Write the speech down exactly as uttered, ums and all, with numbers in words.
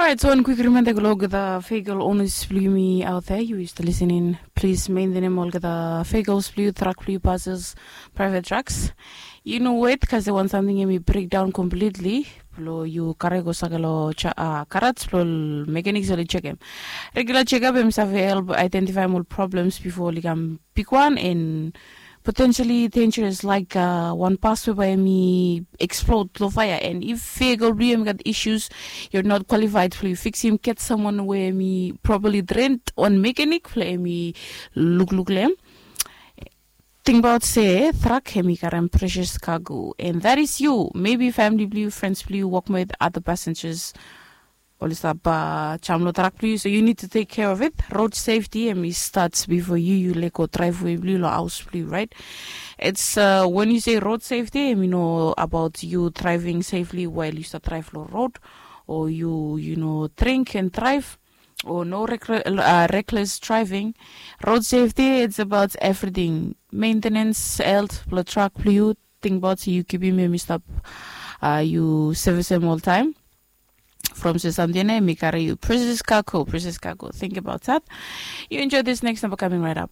Alright, so wan kwik rimenda go long olgeta vehicle owners blong yumi out there, yu is listening, plis mentenem olgeta vehicles blong yu, truck blong yu, buses, private trucks. Yu no wet, kase wan samting em i breakdown completely blong yu kare go sake long garaj blong mechanics oli chekem. Regular checkup em save help identify ol problems before oli kam bigwan and potentially dangerous, like wan bus we bae em i explode long fire. And if vehicle blong yu em i gat issues, you're not qualified blong yu fiksim, get someone we em i properly trained, wan mechanic blong em i lukluk long em. Tingbaot se truck em i karem precious cargo, and that is you, maybe family blong yu, friends blong yu, workmate, other passengers. Oli stap jam long truck blong yu, so you need to take care of it. Road safety em i start before yu yu lego driveway blong yu long haus blong yu, right? It's uh, when you say road safety, em i no about you driving safely while you start drive long road, or you you know drink and drive, or no reckless driving. Road safety, it's about everything. Maintenance, health blong truck blong yu. Tingbaot se yu kipim em i stap, uh, yu service em oltaem. From se samting ya em i kare yu precious cargo, precious cargo. Think about that. You enjoy this next number coming right up.